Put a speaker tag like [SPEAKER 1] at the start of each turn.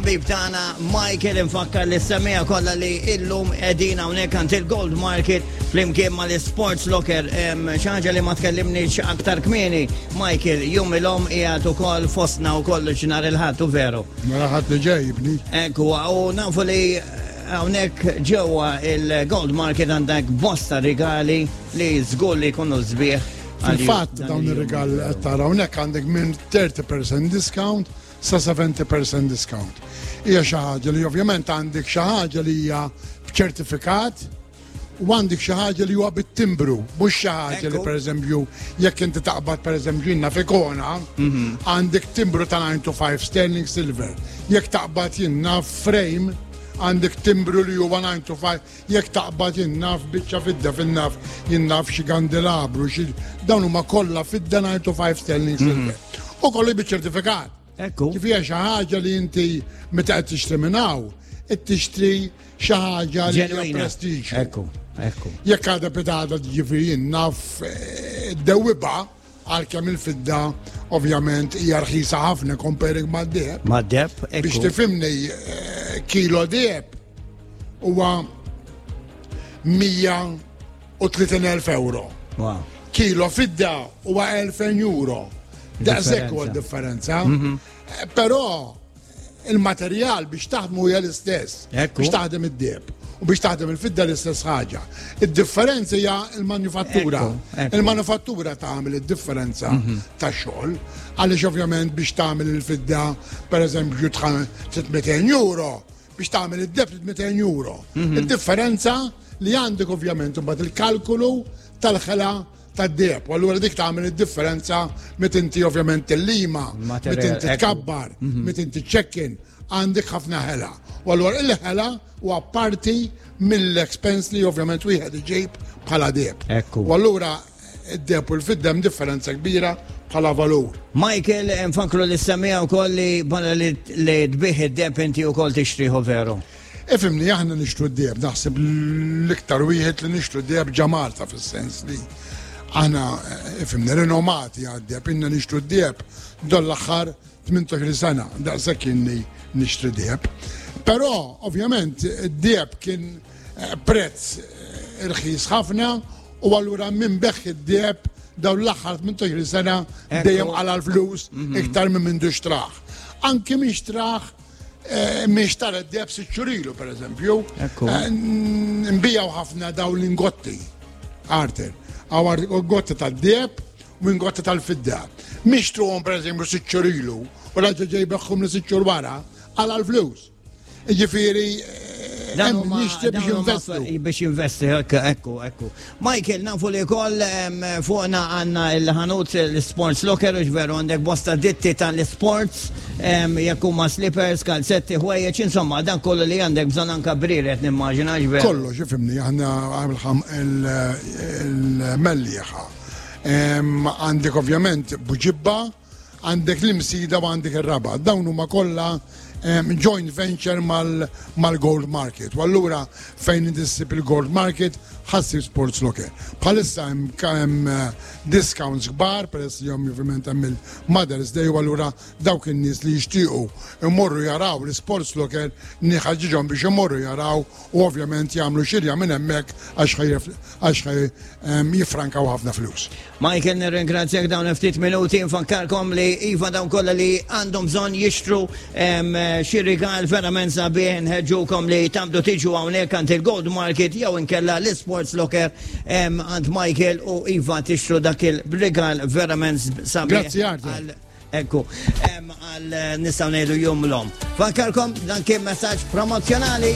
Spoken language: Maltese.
[SPEAKER 1] Ħabib tagħna Michael infakkar li semmiha kollha li illum qegħdin hawnhekk għand il-Gold Market flimkien mal-Sports Locker. Xi ħaġa li ma tkellimniex aktar kmieni, Michael, jum il-om qiegħed ukoll fostna wkoll nhar il-Ħadd u veru.
[SPEAKER 2] Nhar il-Ħadd li ġej, ibni.
[SPEAKER 1] Ekku, u nafu li hawnhekk ġewwa il-Gold Market għandek bosta rigali li żgur li jkunu sbieħ.
[SPEAKER 2] Fil-fatt dawn ir-rigal qed tara hawnhekk għandek minn 30% discount sa 70% discount. Hija xi ħaġa li ovvjament għandek xi ħaġa li hija b'ċertifikat u għandek xi ħaġa li huwa bit-timbru, mhux xi ħaġa li pereżempju jekk inti taqbad pereżempju jiena fikona, mhm. għandek timbru ta' 9 to 5 sterling silver. Jekk taqbad jiena frame għandek timbru li huwa 9 to 5 Jekk taqbad jien naf biċċa fidda fin-naf jien naf xi kandelabru xi dawn huma kollha fidda 9 to 5 sterling silver. Mhm. U kollu biċ-ċertifikat.
[SPEAKER 1] Ekku.
[SPEAKER 2] Ġifieri xi ħaġa li inti meta qed tixtri minn hawn, qed tixtri xi ħaġa li hija prestiġju.
[SPEAKER 1] Ekku, ekku.
[SPEAKER 2] Jekk għadha pitada ġifieri jien naf eh, dewwiba għalkemm il-fidda ovvjament hija rħisa ħafna comparing mad-deheb.
[SPEAKER 1] Mad-deheb, ekku.
[SPEAKER 2] Biex tifhimni eh, kilo deheb huwa 130,000 euro.
[SPEAKER 1] Wow.
[SPEAKER 2] Kilo fidda huwa 2000 euro. Daqshekk huwa differenza. Mhm. Eh, però il-materjal biex taħdmu hija l-istess. Biex taħdem id-deb u biex taħdem il-fidda l-istess ħaġa. Id-differenza hija l-manifattura. Il-manifattura tagħmel id-differenza mhm. ta' xogħol, għaliex ovvjament biex tagħmel il-fidda pereżempju 300 euro, biex tagħmel id-deb 200 euro. Mhm. Id-differenza li għandek ovvjament imbagħad il-kalkolu tal-ħela tad-deheb. U allura dik tagħmel id-differenza meta inti ovvjament tillima, meta inti tkabbar, mhm. meta inti ċekkin, għandek ħafna ħela. U allura il-ħela huwa parti mill-expense li ovvjament wieħed iġib bħala deheb. U allura id-deheb u l-fidda hemm differenza kbira bħala valur.
[SPEAKER 1] Michael, nfakru li semmija wkoll li bħala li tbih id-deheb inti wkoll tixtriħu veru.
[SPEAKER 2] Ifhimni, aħna nixtru d-deheb, naħseb l-iktar wieħed li nixtru d-deheb ġa Malta fis-sens li aħna eh, ifhimni rinomati għad-deheb, inna nixtru d-deheb dan l-aħħar 18 sena, daqshekk inni nixtri deheb. Però, ovvjament, id-deheb kien eh, prezz eh, irħis ħafna u allura minn beħ id-deheb dawn l-aħħar 18 sena dejjem għala l-flus mhm. iktar minn mindu xtraħ. Anki minn xtraħ Eh, miex tara d-deb siċċurilu, per eżempju. Eh, nbijaw ħafna daw l-ingotti, Arthur. Għawar gotti tal-deb u ingotti tal-fidda. Miex truhom, per eżempju, siċċurilu, u raġa ġej beħħum li siċċur wara, għal l-flus. Ġifiri,
[SPEAKER 1] eh, nixtri biex investu. Biex investi, ekku, ekku. Michael, nafu li koll fuqna għanna il-ħanut l-sports locker, u veru għandek bosta ditti tal-sports, jekk huma slippers, kalzetti, ħwejjeġ, insomma, dan kollu li għandek bżonn anka briret nimmaġina veru.
[SPEAKER 2] Kollox, ifimni, aħna il-mellieħa. Għandek ovvjament buġibba, Għandek l-Imsida u għandek ir-Rabat. Dawn huma kollha joint venture mal-Gold Market. U allura fejn inti ssib il-Gold Market ħassib Sports Locker. Bħalissa hemm eh, discounts kbar peress li ovvjament hemm il-Mother's Day u allura dawk in-nies li jixtiequ imorru jaraw l-Sports Locker niħaġġiġhom biex imorru jaraw u ovvjament jagħmlu xirja minn hemmhekk għax jiffrankaw ħafna flus.
[SPEAKER 1] Michael nirringrazzjak dawn ftit minuti nfakkarkom li iva dawn kollha li għandhom bżonn jixtru xi rigal verament sabiħ nħeġġukom li tamdu tiġu hawnhekk għand il-Gold Market jew inkella l-Sports Locker għand Michael u iva tixtru dak il-rigal verament sabiħ.
[SPEAKER 2] Grazzi Arthur.
[SPEAKER 1] Ekku, għal nistgħu ngħidu jum l-om. Fakkarkom dan kien messaġġ promozzjonali.